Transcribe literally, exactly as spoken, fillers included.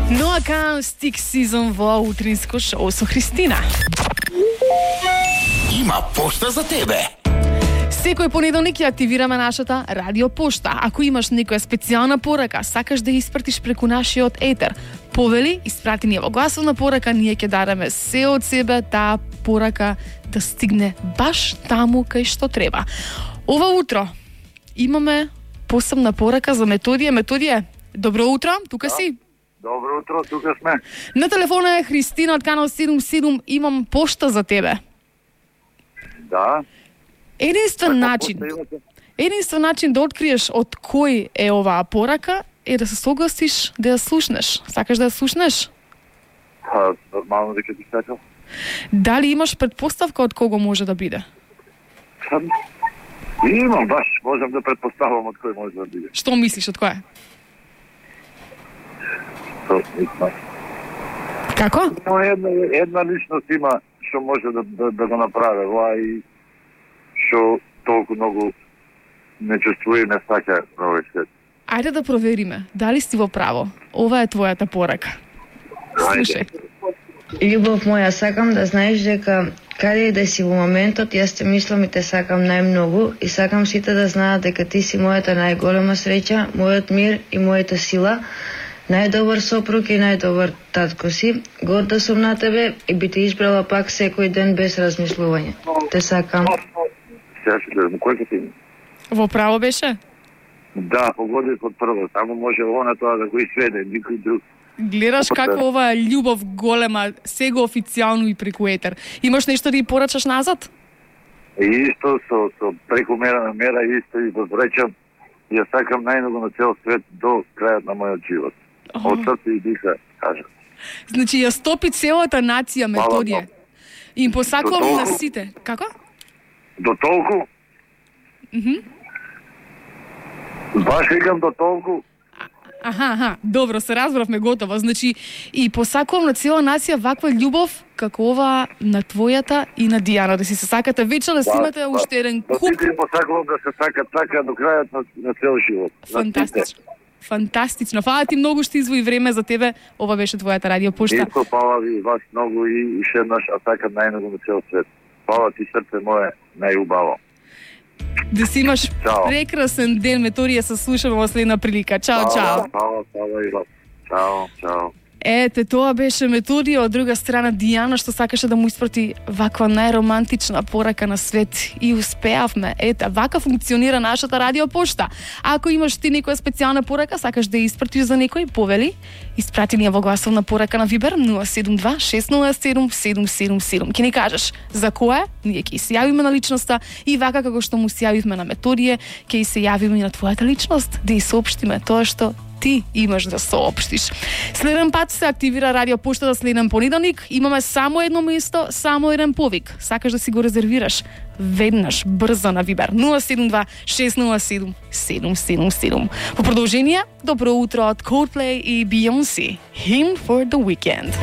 No Acoustic Season во утринско шоу со Христина. Има пошта за тебе. Секој понеделник ја активираме нашата радио пошта. Ако имаш некоја специјална порака, сакаш да ја испратиш преку нашиот етер, повели, испрати ни во гласовна порака, ние ќе дараме се од себе таа порака да стигне баш таму кај што треба. Ова утро имаме посебна порака за Методија. Методија, добро утро, тука да. си? Добро утро, тука сме. На телефона е Христина од канал седум седум, имам пошта за тебе. Да. Единствен начин, единствен начин да откриеш од кој е оваа порака е да се согласиш да ја слушнеш. Сакаш да ја слушнеш? Па, нормално дека ти сакам. Дали имаш предпоставка од кого може да биде? Па, имам, баш, можам да предпоставам од кој може да биде. Што мислиш, од кој? Тоа не Како? Но една, една личност има што може да, да, да го направи ова и што толку многу не чувствува и не сака на овој свет. Ајде да провериме, дали си во право. Ова е твојата порака. Слушај. Љубов моја, сакам да знаеш дека каде и да си во моментот, јас те мислам и те сакам најмногу и сакам сите да знаат дека ти си мојата најголема среќа, мојот мир и мојата сила, најдобар сопруг и најдобар татко си. Горда сум на тебе и би те избрала пак секој ден без размислување. Те сакам. Сега ќе гледам, кој ќе ти има? Во право беше? Да, погоди од прво, само може она тоа да го изведе, никој друг. Гледаш како ова љубов голема, сега официјално и преку етер. Имаш нешто да ја порачаш назад? И исто со, со прекумерна мера, исто и возвречам, ја сакам најмногу на цел свет до крајот на мојот живот. Oh. Од срце и диха, кажам. Значи ја стопи целата нација Методија. И им посакувам До на толку? сите. Како? До толку? Мгм. Баш викам до толку. Аха, аха, добро, се разбравме готово. Значи, и посакувам на цела нација ваква љубов како ова на твојата и на Дијана, да си се сакате вечно, да си имате уште еден До куп. сите посакувам да се сакат така до крајот на, на цел живот. На Фантастично. Фантастично. Фала ти многу што извои време за тебе. Ова беше твојата радио пошта. Исто, фала ви вас многу и уште еднаш, а сакам најмногу на цел свет. Фала ти, срце мое, најубаво. Да си имаш Чао. прекрасен ден, Методија, се слушаме во следна прилика. Чао, чао. Фала, фала и вас. Чао, чао. Ете, тоа беше Методија, од друга страна Дијана, што сакаше да му испрати ваква најромантична порака на свет и успеавме. Ете, вака функционира нашата радио пошта. Ако имаш ти некоја специјална порака, сакаш да ја испратиш за некој, повели, испрати ни ја во гласовна порака на Вибер нула седум два шест нула седум седум седум седум. Ќе ни кажеш за која, ние ќе се јавиме на личноста и вака како што му се јавивме на Методија, ќе се јавиме и на твојата личност, да ја соопштиме тоа што ти имаш да соопштиш. Следен пат се активира радио пошта за следен понеделник. Имаме само едно место, само еден повик. Сакаш да си го резервираш веднаш, брзо на Вибер нула седум два шест нула седум седум седум седум. По продолжение, добро утро од Coldplay и Beyoncé. Hymn for the Weekend.